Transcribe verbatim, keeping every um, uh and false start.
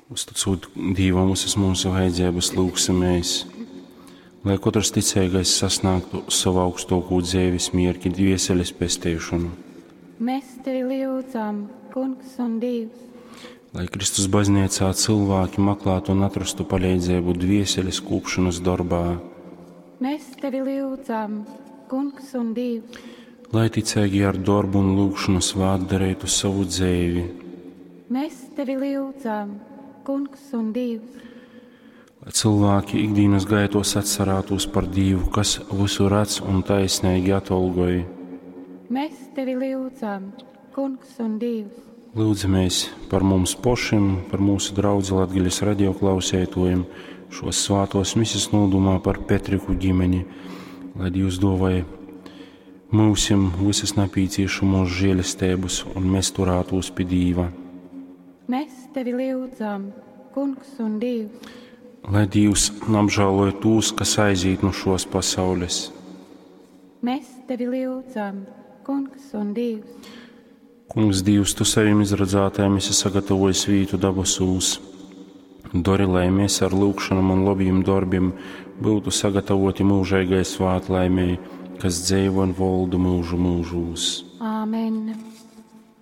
Uzticūt Dīvam visas mūsu vajadzības, lūgsimies, lai katrs ticīgais sasniegtu savu augstāko dzīves mierki, dvieseles pestīšanu. Mēs tevi lūdzam, Kungs un Dievs. Lai Kristus baznīcā cilvēki meklētu un atrastu palīdzību dvieseles kūpšanas darbā. Mēs tevi lūdzam, Kungs un Dievs. Lai ticīgi ar darbu un lūgšanu svātdarītu savu dzīvi. Mēs tevi lūdzam, Kungs un Dievs. Lai cilvēki ikdienas gaitos atcerētos par Dievu, kas visu redz un taisnīgi atolgoja. Mēs tevi lūdzam, Kungs un Dievs. Lūdzamies par mums pašiem, par mūsu draudzi Latgaļas radioklausētojiem, šos svātos mises nodomā par Petriku ģimeni, lai Dievs dāvāja mūsim visas napīciešamos žēlestības un mēs turētos pie Dīva. Mēs tevi lūdzam, Kungs un Dievs. Lai Dievs apžēloja tos, kas aiziet no šos pasaules. Mēs tevi lūdzam, Kungs un Dievs. Kungs, Dievs, tu saviem izradzētājiem esi sagatavojis vītu dabasūs. Dori, lai mēs ar lūgšanām un labiem darbiem būtu sagatavoti mūžīgai svētlaimei, kas dzīvo un valda mūžu mūžos. Āmen.